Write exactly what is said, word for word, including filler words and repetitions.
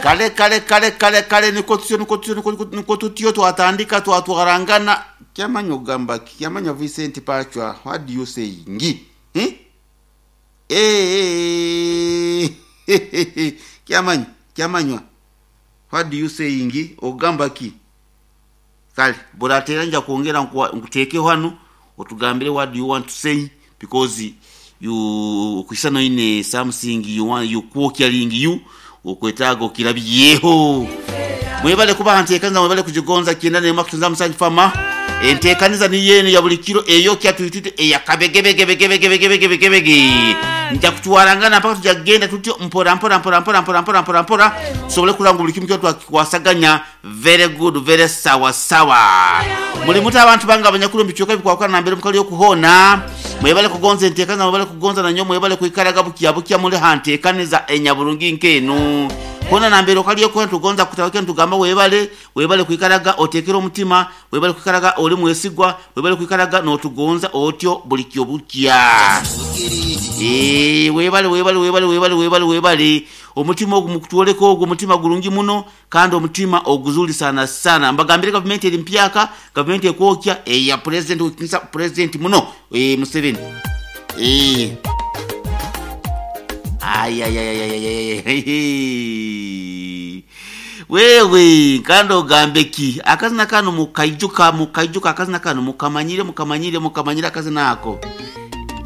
Kale kale kale kale kale, niko tutyo niko tutyo niko niko tutyo twatandika twatwarangana. Kyamanya ogamba ki? Kyamanya Vincent Pachwa, what do you say ngi eh eh kyamanya kyamanywa, what do you say ngi ogamba ki? Kale buratera nja kwongera nkuteeke hano otugambire what do you want to say, because you kwisana ine something you want you kwokyaling you okwetaaga okirabyeho. Mwebale kuba nteekaniza, mwebale kugigonza kyenda nema kutunza musanju fama enteekaniza niyo eno ya buli kiro eyo kyatuyitute eyakabegebegebegebegebegebege. Nja kutwarangana mpaka tujja kugenda tutyo mpora mpora mpora mpora mpora mpora mpora mpora tusobole kulanga buli kimu kyo twakikwasaganya. Very good, very sawa sawa. Muli muti abantu bange abanyakulu mbikyuka bikwakana nambere mukali okuhona. Mwebale kugonza enteekaniza, mwebale kugonza nanyo, mwebale kwikaraga bukya bukya muli hanteekaniza enyaburungi nkenu kona nambere okaliyo kona tugonza kutawake ntugamba webale webale kwikaraga otekera omutima, webale kwikaraga oli mwesigwa, webale kwikaraga notugonza otyo buli kyo bukya. Eh, webale webale webale webale webale webale omutima ogu mukutwoleka ogwo omutima gulungi muno kandi omutima oguzuli sana sana. Mbagambire gavumenti eri mpyaka, gavumenti ekwokya eya president wekisa president muno eh Museveni eh ay ay ay ay ay ay wewe kandi ogambe ki akazina kano mukaijuka mukaijuka akazina kano mukamanyire mukamanyire mukamanyire akazina ako.